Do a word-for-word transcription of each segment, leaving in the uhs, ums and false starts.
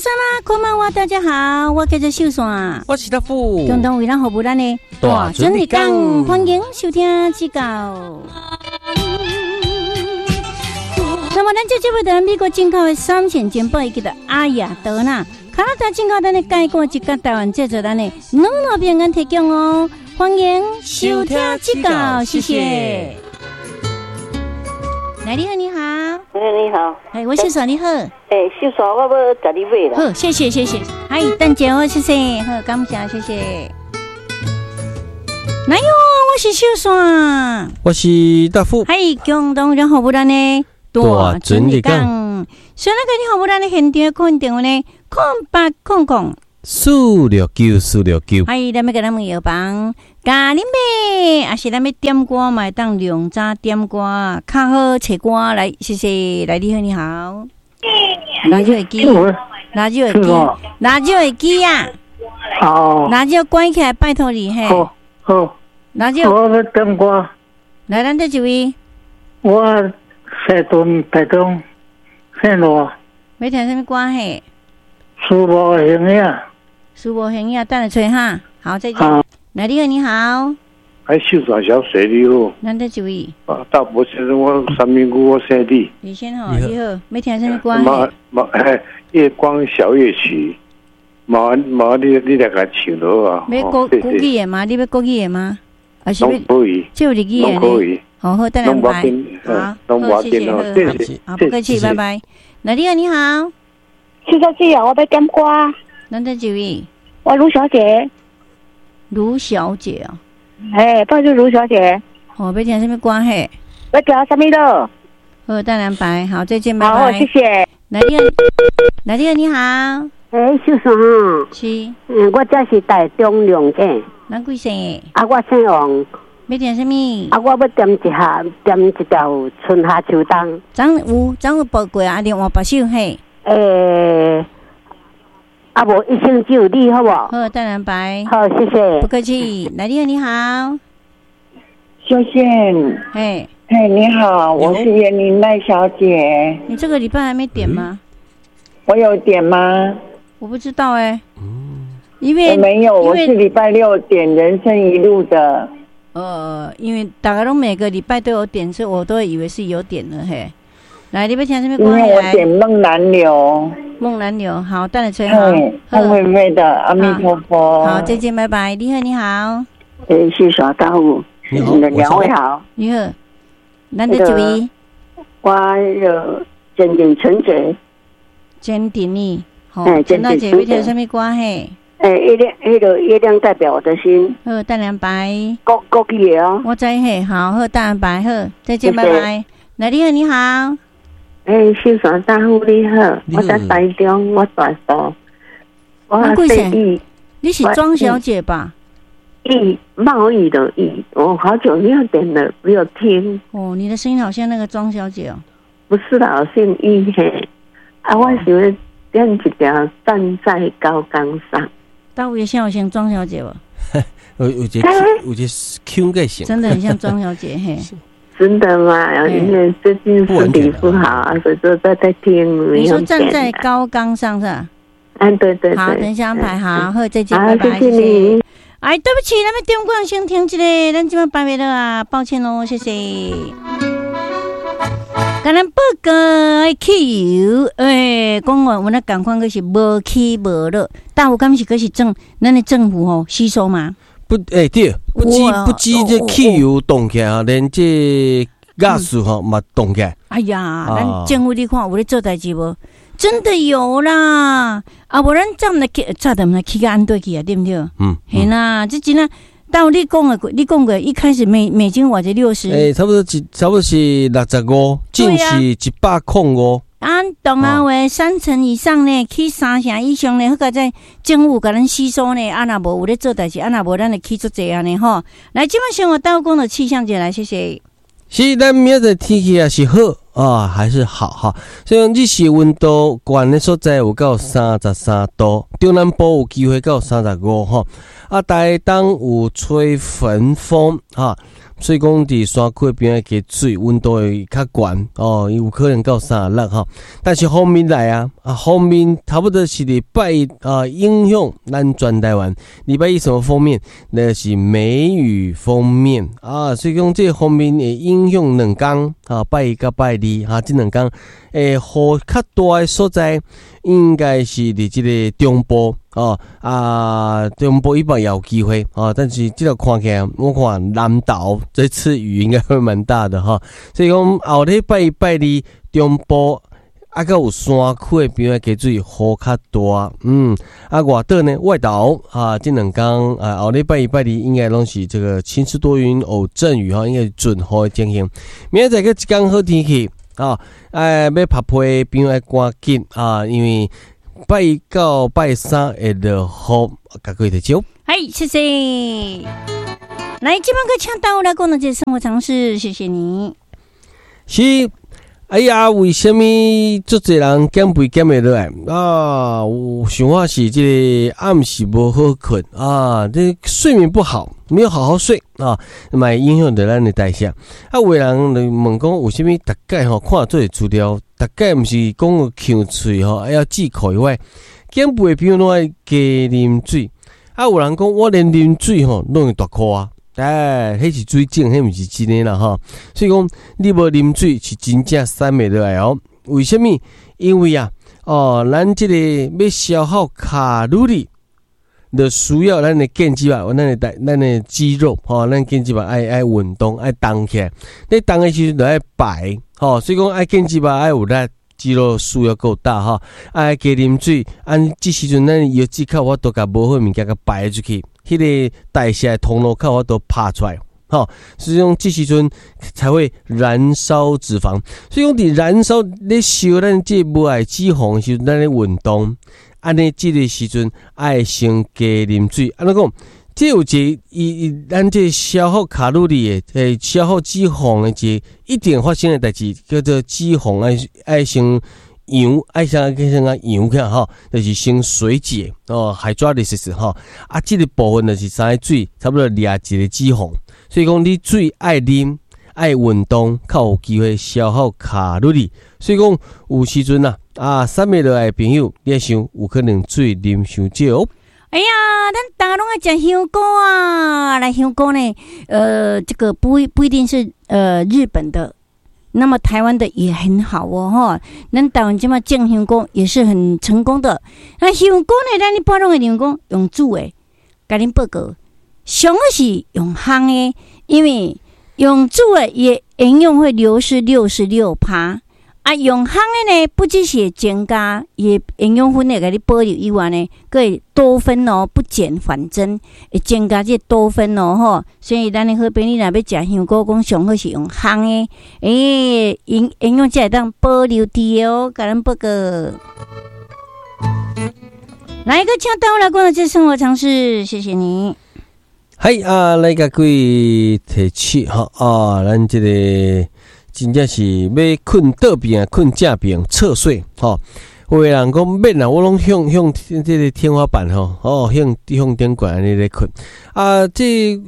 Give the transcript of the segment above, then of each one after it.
さま，こんばんは，大家好，我叫做秀山，我是大富，共同為咱服務咱的大准的講。歡迎收聽這個。那麼咱這節目的美國進口的三線珍寶，叫做阿雅德娜，加拿大進口咱的蓋過一個台灣製作咱的乳酪餅乾提供哦，歡迎收聽這個，謝謝。來，你好，你好。哎，你好。哎，我秀山，你好。哎，秀山，我欲共你買啦。好，謝謝，謝謝。哎，等下我謝謝，好，感謝，謝謝。來喲，我是秀山，我是大富。嗨，共同任何不咱的大准的講。所以那個你好，不咱的現場可電話呢？空八空空四六九四六九。嗨，咱欲共咱問藥房，共你買，抑是咱欲點歌嘛會當兩早點歌，較好揣歌來，謝謝。來，你好，你好。拉少會記，拉少會記，拉少會記啊！哦，拉少關起來，拜託你嘿。好，好。拉少，我欲點歌。來，咱佗一位。我西屯台中姓羅。欲聽啥物歌嘿？思無形影。思無形影，等下揣哈。好，再見。來，你好，你好。哎，秀山小姐你好。咱佗一位。啊，大伯先生，我三民區我姓李。李先生，你好，欲聽啥物歌？嘛嘛，夜光小夜曲，麻煩麻煩你你來共唱好啊。欲國國語的嗎？你欲國語的嗎？還是欲攏可以？這有日語的攏可以。好好，等下安排。好，好，謝謝，謝謝。好，不客氣，拜拜。來，你好，你好。秀小姐啊，我欲點歌。咱佗一位？我盧小姐。盧小姐哦。哎，報是盧小姐。哦，欲聽啥物歌嘿？欲聽啥物囉？好，等安排。好，再見，拜拜。好，謝謝。來，你好，來，你好，你好。哎，秀山。是。嗯，我這是台中龍井。咱貴姓？啊，我姓王。欲聽啥物？啊，我欲點一下，點一條春夏秋冬。昨有，昨有播過啊，另外別首嘿。欸，啊無一生只有你，好無？好，等安排。好，謝謝。不客氣。來，你好，你好。秀憲。嘿。嘿，你好，我是員林賴小姐。你這個禮拜還沒點嗎？我有點嗎？我不知道哎。因為我沒有，我是禮拜六點人生一路的。呃，因為大家攏每個禮拜都有點，所以我都會以為是有點的嘿。來，你欲聽啥物歌？因為我點夢南流。夢南流，好，等下吹好。鳳飛飛的阿彌陀佛。好，再見，拜拜。你好，你好。哎，謝謝大富，你好，兩位好。你好，咱佗一位？我有堅定純潔。堅定呢？好，陳大姐欲聽啥物歌嘿？欸，月亮，彼个月亮代表我的心。好，等安排。國國語的哦。我知嘿，好好等安排，好，再見，拜拜。來，你好，你好。欸，秀山大富你好，我在台中，我大埔。我姓易，你是莊小姐吧？易，貿易的易，我好久沒有點了，沒有聽。哦，你的聲音好像那個莊小姐哦。不是啦，我姓易嘿。啊，我想欲點一條站在高崗上。大有像像莊小姐無？有有一個有一個腔個像，真的很像莊小姐嘿。真的嗎？因為最近身體不好啊，所以就在在聽。你說站在高崗上是吧？嗯，對對對。好，等一下安排好，好，再見，拜拜，謝謝你。哎，對不起，咱欲點歌先停一下，咱這擺排袂落啊，抱歉囉，謝謝。共咱報告汽油，欸，講話有那仝款，閣是無起無落，但有敢是閣是政，咱的政府吼吸收嗎？不，欸對，不止不止這汽油動起來啊，連這瓦斯吼嘛動起來。哎呀，咱政府你看有咧做代誌無？真的有啦，啊，無咱早毋知去，早就毋知起甲按對去啊，對毋對？嗯，嘿啦，這真啊。但你講的，你講過一開始美美金偌濟六十，欸，差不多一差不多是六十五，進是一百空五。啊，同啊話三成以上呢，起三成以上呢，好佳哉政府共咱吸收呢，啊若無有咧做代誌，啊若無咱會起足濟按呢吼。來，這擺先我倒講著氣象者來，謝謝。是咱明仔載天氣也是好啊，還是好哈。所以日時溫度懸的所在有到三十三度，中南部有機會到三十五吼。啊，台東有吹焚風哈，所以講佇山區邊仔加水，溫度會較懸哦，有可能到三十六吼。但是鋒面來啊，啊鋒面差不多是禮拜一啊，影響咱全台灣。禮拜一什麼鋒面？那是梅雨鋒面啊，所以講這個鋒面會影響兩工啊，拜一佮拜二哈，這兩工會雨較大的所在，應該是佇這個中部哦啊，中部以北也有機會啊，但是這個看起來，我看南投這次雨應該會蠻大的哈，所以講後禮拜一拜二中部啊，閣有山區的邊仔加水雨較大，嗯，啊外島呢，外島啊，這兩工啊，後禮拜一拜二應該攏是這個晴時多雲偶陣雨哈，應該是準雨的情形。明仔載閣一工好天氣啊，哎，欲曝被朋友愛趕緊啊，因為拜一到拜三會落雨，共各位提醒。嗨，謝謝。來，這擺閣請大來講的這生活常識，謝謝你。是。哎呀，為啥物足濟人減肥減袂落來啊？有想法是這個暗時無好睏啊，這睡眠不好，沒有好好睡啊，嘛會影響著咱的代謝。啊，有的人就問講，為啥物逐擺吼看做資料，逐擺毋是講嗆喙吼，還要忌口以外，減肥的朋友攏愛加啉水。啊，有人講我連啉水吼攏會大箍啊。哎，彼是水腫，彼毋是真的啦吼。所以講，你無啉水是真正瘦袂落來哦。為啥物？因為啊，哦，咱這個欲消耗卡路里，就需要咱的腱肌肉，咱的咱的肌肉，吼，咱腱肌肉愛愛運動，愛動起來。你動的時陣就愛排，吼，所以講愛腱肌肉愛有力，肌肉需要夠大吼，愛加啉水，按這時陣咱藥劑較有法度共無好物件共排出去。彼個代謝的通路較有法度拍出來，吼，所以講這時陣才會燃燒脂肪。所以講佇燃燒咧燒咱這無愛脂肪的時陣，咱咧運動，按呢這個時陣愛先加啉水。按怎講？這有一個伊伊咱這消耗卡路里的，欸，消耗脂肪的一個一定發生的代誌，叫做脂肪愛愛先溶，愛先先共溶起來吼，就是先水解哦，hydrolysis 吼。啊，這個部分就是三水，差不多掠一個脂肪。所以講，你水愛啉，愛運動，較有機會消耗卡路里。所以講，有時陣啊，啊，瘦袂落來的朋友，你愛想有可能水啉傷少。哎呀，咱大家攏愛食香菇啊！來香菇呢，呃，這個不不一定是呃日本的，那麼台灣的也很好哦，吼。咱台灣這擺種香菇也是很成功的。那香菇呢，咱一般攏會認為講用煮的，共恁報告，上好是用烘的，因為用煮的伊營養會流失六十六趴。啊，用烘的呢，不只是會增加伊的營養分會共你保留以外呢，閣會多酚哦，不減反增，會增加這多酚哦，吼。所以咱的好朋友若欲食香菇，講上好是用烘的，欸，營營養才會當保留佇哦，共咱報告。來一個請帶我來過的這生活常識，謝謝你。嗨啊，來共各位提醒吼啊，咱這個。真正是欲睏倒邊啊，睏正爿側睡吼。有的人講免啦，我攏向向這個天花板吼，哦向向頂懸按呢咧睏。啊，這倚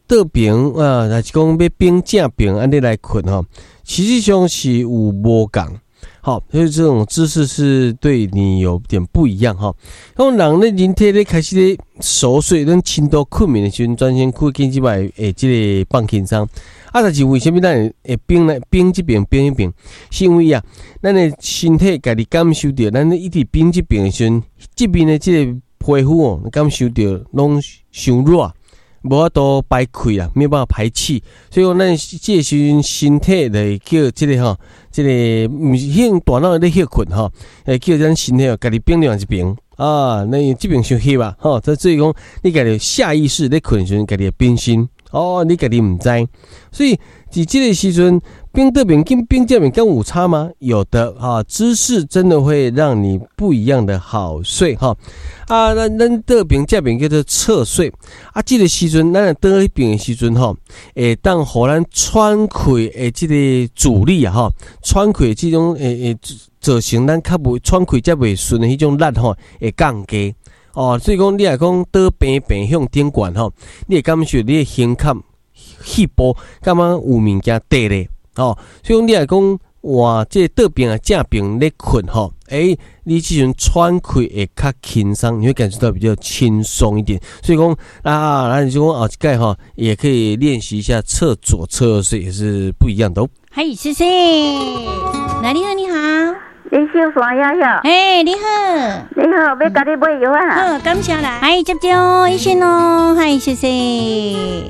倒爿啊，還是講欲反正爿按呢來睏吼，實際上是有無仝。好，所以這種姿勢是對你有點不一樣哈。講人咧人體咧開始咧熟睡，咱深度睏眠的時陣，全身骨筋這擺會這個放輕鬆。啊，但是為啥物咱會會反來反這爿反彼爿？是因為啊，咱的身體家己感受著，咱一直反這爿的時陣，這邊的這個皮膚哦，感受著攏傷熱，無法度排氣啊，沒有辦法排氣，所以講咱這個時陣身體就會叫這個吼，這個毋是向大腦咧歇睏吼，會叫咱身體哦，家己反另外一爿啊，那這爿傷翕啊，吼，所以講你家己下意識咧睏的時陣，家己會變身。哦，你家己毋知，所以佇這個時陣，反倒爿跟反正爿敢有差嗎？有的哈，姿勢真的會讓你不一樣的好睡哈。啊，咱咱倒爿正爿叫做側睡啊，這個時陣咱若倒彼爿的時陣吼，會當予咱喘氣的這個阻力啊吼，喘氣這種會會造成咱較袂喘氣才袂順的彼種力吼，會降低。哦，所以講你若講倒平平向頂懸吼，你會感受你的胸坎、肺部感覺有物件綴咧，哦，所以講你若講換這個倒爿啊正爿咧睏吼，欸，你這陣喘氣會較輕鬆，你會感覺到比較輕鬆一點。所以講啊，咱就講後一擺吼，也可以練習一下側左側右睡，也是不一樣的哦。嗨，謝謝。來，你好，你好。李秀山呀呀。嘿，你好。你好，欲共你買藥啊。好，感謝啦。嗨，接招醫生哦，嗨，謝謝。